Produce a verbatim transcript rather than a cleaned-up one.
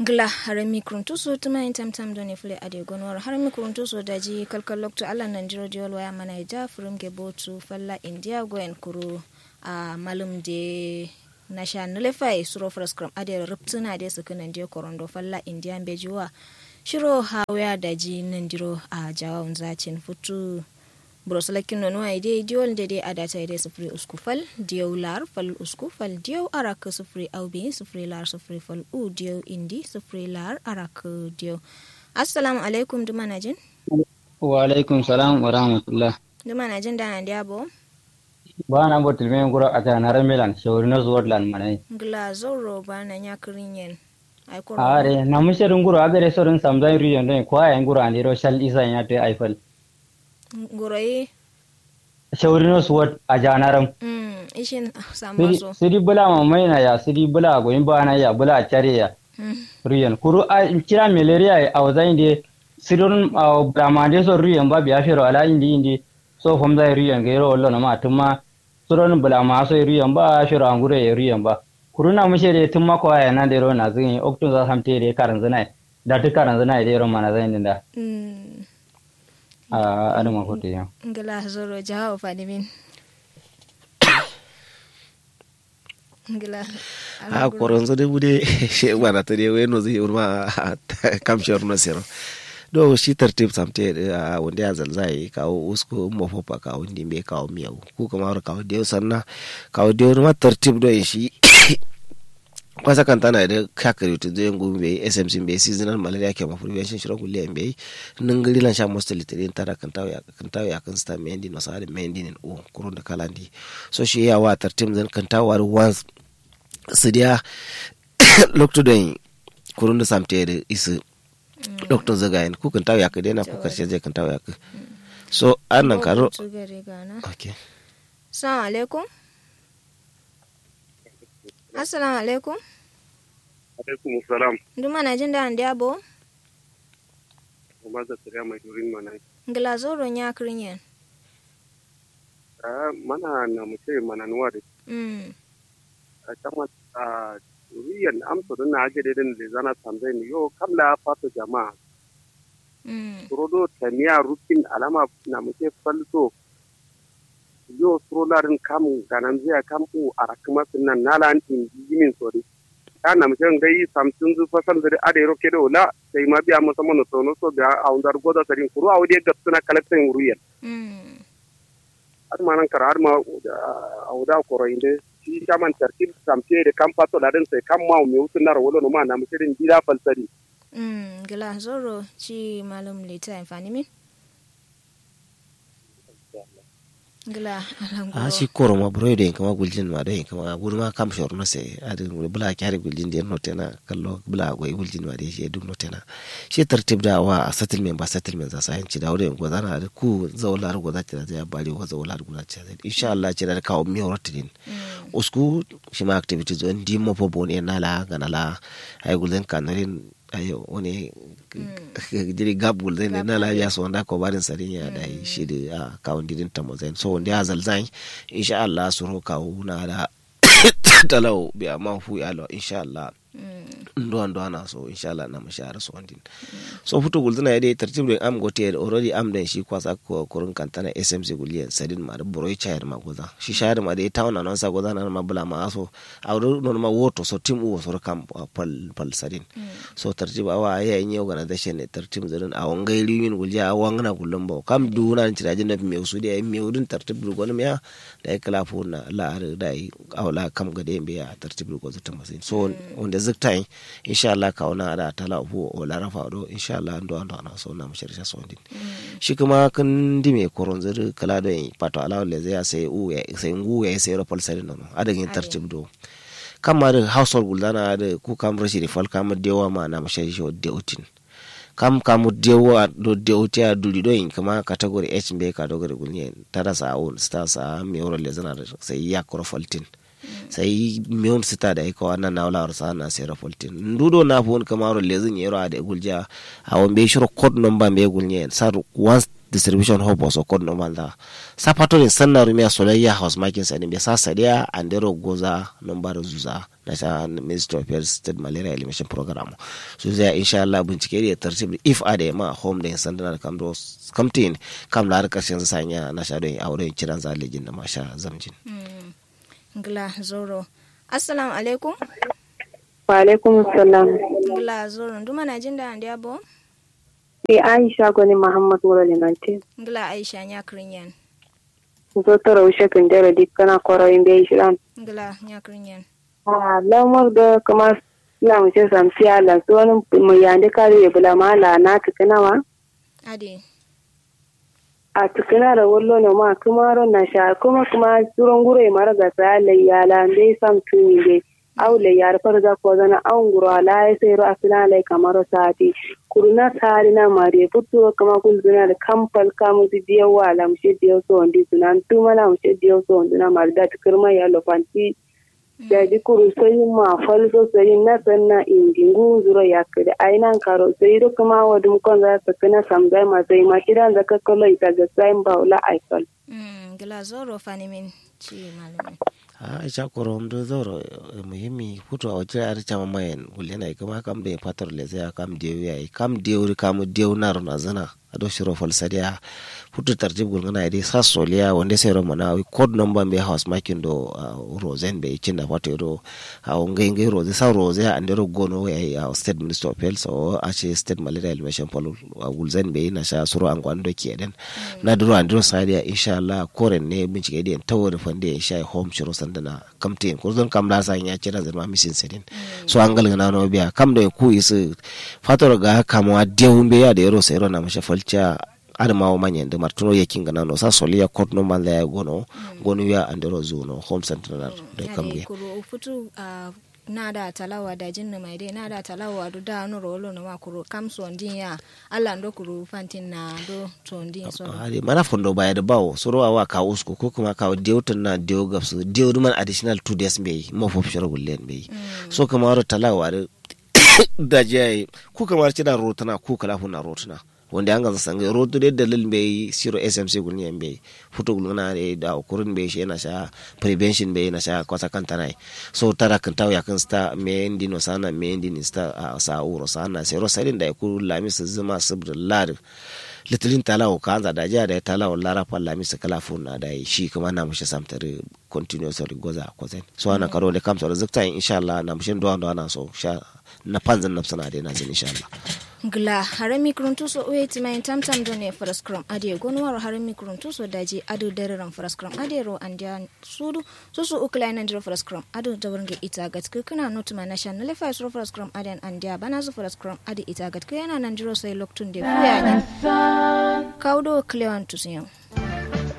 Gla harami kuruntuso tuma yin tamtam done fule ade gonowar harami kuruntuso daji kalkal loktu allah nandiro diwol waya mana ida furum ge botu falla indiya goyen kuru. A malum de nasha nulefai suro faraskram ade ruptuna de suku nandiyo korondo falla indiya mbeji wa. Shiro hawaya daji nandiro a jawawun zacin futu. Buro sulakin nonuwa ide diwol nde de adata ide sufuri usku fal diyau lar fal usku fal diyau arak sufuri au biyin sufuri lar sufuri fal u diyau indi sufuri lar arak diyau. Assalamu alaikum duma najin. Wa alaikum salam wa rahmatullah. Duma najin da nandiya bo. Ba na botul me nguro ata na ramelan shawari no zuwar lan manai. Ngla zauro ba na nya kirinyen. Ai koro are na mushe dun nguro agare so dun samzan riyon don kwa ya nguro andiro shal isa ya te aifal. Nguro yi. Shauri no suwat a janaram. Ishin samma so sidi bula mamaina ya sidi bula goyin bana ya bula care ya. Ruyen kuru a kira malaria ya auza inde sidon bula mande so ruyen ba biya fero ala indi indi. So fomza ruyen gairo wallo na ma tumma. Suron bula ma so ruyen ba fero angure ya ruyen ba. Kuru na mushe de tumma ko ya nan de ro na zin oktun za samte de karanzina. Da tu karanzina de ro mana zan dinda. Aduma kotu ya. Ngla zoro jawo fanimin. Ngla. A koronzo de bude she mana to de weno zai urma. Kam shor no sero. Do shi tartib samte a wonde a zalzai kawo usko mofopa kawo ndimbe kawo miyau ku kamaro kawo de sanna. Kawo de urma tartib do shi. Kwasa kantana de kakari tu zai ngu mbe smc mbe seasonal malaria kema prevention shiro kulle mbe. Ningiri lan sha mostly tiri tada kantawo ya kantawo ya kan sta mendi no sare mendi nin u kurun da kalandi. So shi ya wa tartim zan kantawo wa once. Sidiya loktu don kurun da samte da isi. Loktu zagayen ku kantawo ya ka dena ku karshe zai kantawo ya ka. So an nan karo. Okay. Assalamu alaikum. Assalamu alaikum. Alaikum salam. Duma najin da andiya bo. Kuma zakariya mai durin mana. Ngla zoro nya kirinyen. Mana na mutai mana nuwa de. A kama a ruyen amso din na ake de din lezana tamzai ni yo kam la fato jama'a. Suro do tamiya rukin alama na mutai falso. Yo suro la din kam gananzu ya kam u arakuma sinna nala an indi yimin so de. Ya namshe ngai samsunzu fasalnzu de adai ro kedo la. Sai ma biya musamman no sono so biya awunza do goza sadin kuru awu de gabsuna kalaksan ruyen. Aduma nan kara aduma. Awuda koro inde shi shaman tartib samte de kam fato la din sai kam ma me wusun naro wolo no ma namshe din bila falsadi. Ngla zoro ci malum lita infanimin. Ngla. A shi koro ma buro do yin kama guljin ma do yin kama gudu ma kam shor no sai adin bula kyari guljin de no tena kallo bula goyi guljin ma de shi duk no tena. Shi tartib da wa settlement ba settlement za sayan ci da wurin gozana da ku zaula da goza ci da zai bari wa zaula da goza ci da insha Allah ci da kawo mi horatidin. Usku shi ma activities on di mo fo bon en nala ganala. Ay gulden kanarin ayo wani jiri gab gulden ne na lafiya so wanda ko barin sarin ya da shi da a kawun didin ta mozain so wanda ya zalzan insha Allah suro kawu na da. Talau biya ma fu ya lo insha Allah. Ndo ndo ana so insha Allah na mashara so wandin. So futu gulden ya dai tartib din am gote already am dan shi kwasa kurun kantana smc guliyan sadin ma da boroi chayar ma goza shi shayar ma dai tauna non sa goza na ma bula ma so. Awo do nonuma woto so tim uwo soro kam. Pal pal sadin so tartib awa yayi nyi organization ne tartib zodin awo ngai riwin gulja awo wangna gullum bawo kam duwuna ni ciraji nafi mewu sudi yayi mewu din tartib du gonum ya. Dayi kla fuwunna la adǝ dayi awo la kam gade mbeyi ya tartib du gozu tǝmasin so. Wunde zǝktayin insha allah kawuna adǝ atala fuwo awo la rafa do insha allah nduwa nduwa na so namu shari sha so din. Shi kǝma kǝn ndime koronzǝ dǝ kǝla doyin fato alawo lezǝ ya sai uwu yayi sai nguwu yayi sai ro fal sadin nono adǝ gǝnyi tartib do. Kamma dǝ hausa gulzana adǝ ku kam rashidi fal kam dewa ma namu shari sho dewutin. Kam kam dewa do dewutiya duri doyin kǝma category h mbeyi category gulnyen tada sa awun sta sa mewuro lezǝna dǝ sai yakkuro faltin. Sai miyun sita dayi kawa nanna wularo sa'ana sairo faltin ndu do nafuwun kǝmaro lezǝ nyero adai guljiya. Awo mbeyi shiro code number mbeyi gulnyen sa once distribution hub waso code number nza. Sa fato din sanna rumiya solayya house makin sadin be sa sadiya andero goza number zuza. Nasha ministry of health state malaria elimination program su zai insha Allah bincike da tartib if adai ma home da sandana da kamdo kamtin. Kam la har karshen sanya nasha don awo don ciran za lejin da masha zamjin. Ngla zoro. Assalamu alaikum. Wa alaikum salam. Ngla zoro nduma na jinda andiya bo. Ni aisha goni muhammad nguro limantin. Ngla aisha nya krinyen. Zo toro ushe kundero dikkana koro imbe ishiran. Ngla nya krinyen. Ah lamar da kuma suna mushe samsiya lan su wani mu yande kare bula ma la na tukuna ma. Ade. A tukuna da wallo no ma kuma ron na sha kuma kuma suron guro mara ga sa lai ya la mbe sam tuni mbe. Au lai ya da farza ko zana au nguro ala ya sai ro asuna lai kamaro sati. Kuruna sari na mare futuro kuma gulzuna da kampal kamu di diyo wa la mushe diyo so ndi sunan tuma la mushe diyo so nduna mare da tukurma ya lofanti. Daji kuru soyin ma fal so soyin na sanna indi ngu nzuro yakkǝde ai nan karo soyi do kǝma wodum konza sakkǝna samzai ma soyi ma kidanza kakkalo ita gassayin bawo la ai fal. Ngla zoro fanimin ci malumin. A isha koro mdu zoro muhimmi futu a wakil ari cama mayen gullena ikǝma kam do fator lezaya kam dewu yayi kam dewu kamu dewu naro nazana. Ado shiro falsadiya futu tartib gulngana ye dai sa soliya wande sai ro mana wi code number mbe house makin do. Rozen be ikin da fato do. Awo ngai ngai roze sa roze ya andero gono ya yi awo state minister of health so ashe state malaria elimination polo. Gulzen be na sha suro angwan do keden. Na duro andero sadiya insha Allah koren ne bincike den tawo da fande insha home shiro sandana. Kamtin kurzon kam la sa nya cira zirma misin sidin. So angal ngana no biya kam do ku isu. Fator ga kamwa dewu mbe ya da yero sai ro na masha falciya. Adǝ ma wo manyen dǝ martǝno yakkin gǝnano sa soliya kot no manza yayi gono. Gonuwiya andero zuno home central doi kamge. Kuru futu. Nada talawa dajin nǝmai dai nada talawa du da nuro wolo nǝma kuru kam sondin ya. Alla ndo kuru fantin na do sondin so. Adǝ mana fondo baya dǝ bawo suro awa kawu usko ko kǝma kawu dewu tǝnna dewu gabsǝ dewu dǝ man additional two days mbeyi mofo fishiro gullen mbeyi. So kǝma wuro talawa dǝ daji yayi. Ku kǝma dǝ cida rotǝna ku kǝla funna rotǝna. Wonde anganza sangai rotu de dalil mbeyi siro smc gulnyen mbeyi. Futu gulngana de da kurin mbeyi she nasha prevention mbeyi nasha kwasa kantanayi. So tada kǝntawu yakkǝn sǝta meyen dino sana meyen dino sǝta. Sa wuro sana sero sadin dayi kuru lamis zǝma sǝbdǝ ladǝ. Lǝtǝlin talawu kaanza dajiya dayi talawu lara fal lamis kǝla funna dayi shi kǝma namushe samtadǝ. Continuously goza kozain so ana karo wonde kamso dǝ zǝktayin inshallah namushen duwa duwa naso sha. Na panzǝn nabsǝna dai nazǝn inshallah. Ngla harami kǝruntu so uwe tǝmayin tamtam done faraskram adǝ ye gonuwaro harami kǝruntu so daji adǝ dararam faraskram adǝ ye ro andiya sudu. Susu ukǝlayi nandiro faraskram adǝ dawarnge ita gatkǝ kǝna notǝma nasha nalefa ye suro faraskram adǝ ye andiya banazǝ faraskram adǝ ita gatkǝ yana nandiro sai loktunde fuya nyen. Kawu do kǝlewan tusuyen.